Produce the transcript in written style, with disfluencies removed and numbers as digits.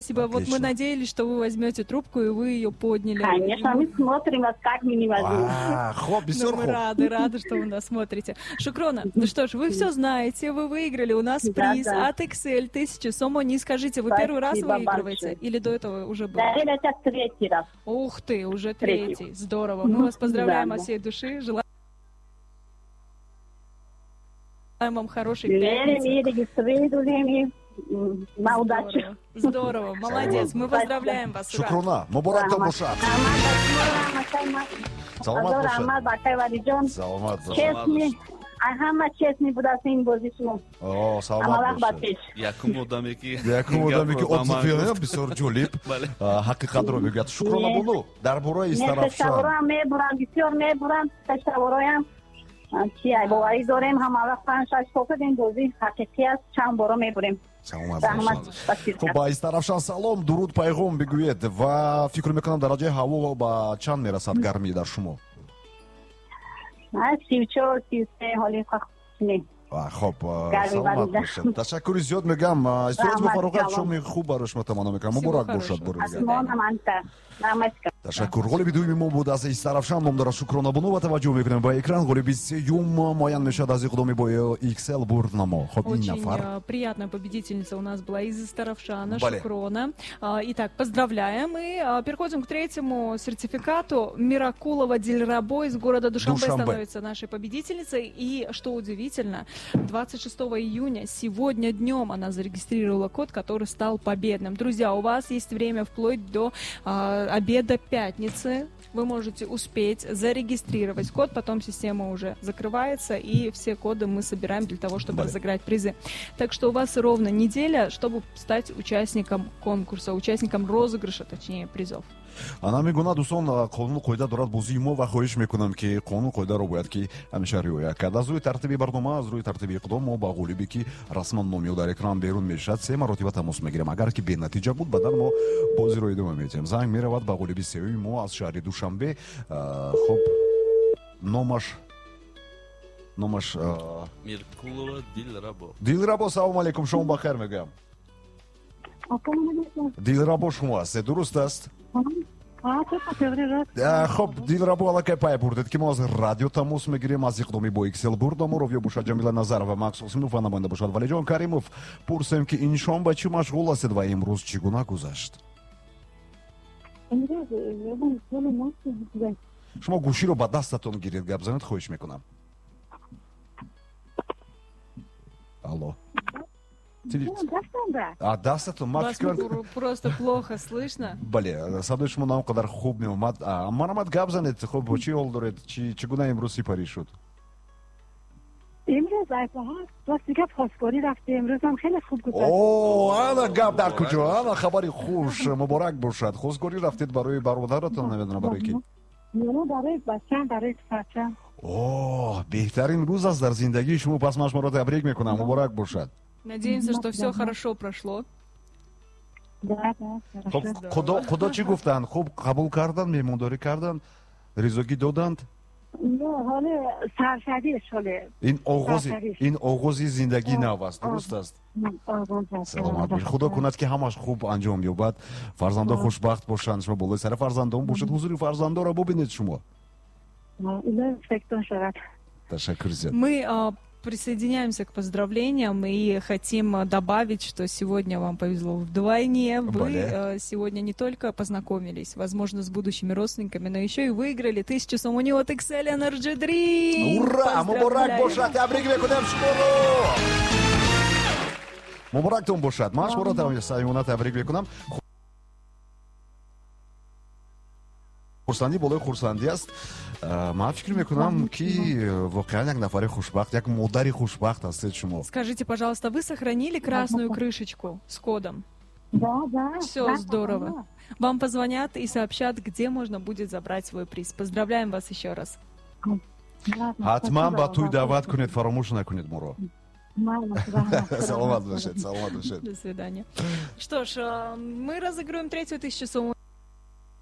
Спасибо. Вот мы надеялись, что вы возьмете трубку, и вы ее подняли. Конечно, мы смотрим вас, как мы не возьмем. Хоп, Ну, мы рады, рады, что вы нас смотрите. Шукрона, ну что ж, вы все знаете, вы выиграли у нас приз от XL 1000 сомони. Скажите, вы первый раз выигрываете или до этого уже было? Да, это третий раз. Ух ты, уже третий. Здорово. Мы вас поздравляем от всей души. Желаем вам хорошей пятницы. На удачу. Здорово, молодец. Мы поздравляем вас. Шукрона, муборак бошад. Саломат бошад. Саломат. Честный, ҳама честный будааст ин бозӣ шумо. О, саломат бошед. Якум одаме ки якум одаме ки отзыв бисёр ҷолиб, ҳақиқатро мегӯяд. Шукрона бону, дар бораи Истаравшан. Мебурам, бисёр мебурам, ташаввуроям. Чи боварӣ дорем, ҳама вақт 5-6 сол ин бозӣ ҳақиқӣ аст, чанд боро мебурем. Хуб, ба Истаравшан салом, дуруд, пайғом бигӯед ва фикр мекунам дараҷаи ҳаво ба чанд мерасад гармӣ дар шумо? 34, 33 ҳоли не. Хуб, саломат бошед. Ташаккури зиёд мегӯям. Истироҳат бо фароғат, шоми хуб барои шумо таманно мекунам. Муборак бошад бори дигар. Ташаккур. Ғолиби дуюми мо буд аз Истаравшан, ном дорад Шукрона Бону ва таваҷҷӯҳ мекунем ба экран. Ғолиби сеюм муайян мешавад аз иқдоми бо XL бурднамо. Хуб, ин нафар. Очень приятная победительница у нас была из Истаравшана, Шукрона. Итак, поздравляем. И переходим к третьему сертификату. Миракулова Дильрабо из города Душанбе становится нашей победительницей. И, что удивительно, 26 июня, сегодня днем, она зарегистрировала код, который стал победным. Друзья, у вас есть время вплоть до обеда пятницы. Вы можете успеть зарегистрировать код, потом система уже закрывается, и все коды мы собираем для того, чтобы разыграть призы. Так что у вас ровно неделя, чтобы стать участником конкурса, участником розыгрыша, точнее, призов. Ана мегуна, дӯстон, қонуну қоида дорад бозии мо ва хоҳиш мекунам, ки қонуну қоидаро бояд ки ҳамеша риоя кард. Аз рӯи тартиби барнома, аз рӯи тартиби иқдом мо ба ғолибе, ки расман номи ӯ дар экран берун мешавад, се маротиба тамос мегирем. Агар ки бенатиҷа буд, баъдан мо бозиро идома медиҳем. Занг меравад ба ғолиби сеюми мо аз шаҳри Душанбе. Хуб, номаш Миркулова Дилрабо. Дилрабо, салому алейкум, шумо бахайр мегӯям. Дилрабо шумо ҳастед, дуруст аст? Хуб, Дилрабо, аллакай пай бурдед, ки мо аз радио тамос мегирем, аз иқдоми бо XL бурднамо. Ровия бошад Ҷамила Назарова, Макс Осимов ва намоянда бошад Валиҷон Каримов. Пурсем, ки ин шом ба чӣ машғул ҳастед ва имрӯз чӣ гуна гузашт? Шумо гӯширо ба дастатон гиред, гап занед, хоҳиш мекунам. Алло. Дастатон, ман фикр просто плохо слышно. Бале, садои шумо на он қадар хуб меомад. Марамад, гап занед. Хуб, чӣ ҳол доред? Чӣ гуна имрӯз сипарӣ шуд? Имрӯз рости гап хостгорӣ рафтем. Имрӯзам хеле хуб гузашт. О, ана гап дар куҷо? Ана хабари хуш, муборак бошад. Хостгорӣ рафтед барои бародаратон, намедонам барои ки? Не, барои бачам, барои писарчам. О, беҳтарин рӯз аст дар зиндагии шумо. Пас ман шуморо табрик мекунам. Муборак бошад. Надеемся, что все хорошо прошло. Да, да, хорошо. Худо чӣ гуфтанд? Хуб қабул карданд, меҳмондорӣ карданд, ризогӣ доданд? Не, ҳоле саршавиш ҳоле. Ин оғози зиндагии нав аст, дуруст аст? Саломат бошед. Худо кунад, ки ҳамаш хуб анҷом ёбад, фарзандо хушбахт бошанд, шумо болои сари фарзандон бошед, ҳузури фарзандонро бубинед шумо. Ташаккур зиёд. Мы присоединяемся к поздравлениям и хотим добавить, что сегодня вам повезло вдвойне. Вы сегодня не только познакомились, возможно, с будущими родственниками, но еще и выиграли 1000 сомони от XL Energy Drink. Ура! Муборак бошад! Табрик мекунем шуморо! Муборактон бошад! Ман шуморо самимона табрик мекунам. Хурсандӣ болои хурсандӣ аст. Ман фикр мекунам, ки воқеан як нафари хушбахт, як модари хушбахт ҳастед шумо. Скажите, пожалуйста, вы сохранили красную крышечку с кодом? Да, да. Все здорово. Вам позвонят и сообщат, где можно будет забрать свой приз. Поздравляем вас еще раз. Ҳатман ба тӯй даъват кунед, фаромӯш накунед моро. Саломат бошед, саломат бошед. До свидания. Что ж, мы разыгрываем третью 1000 сомони.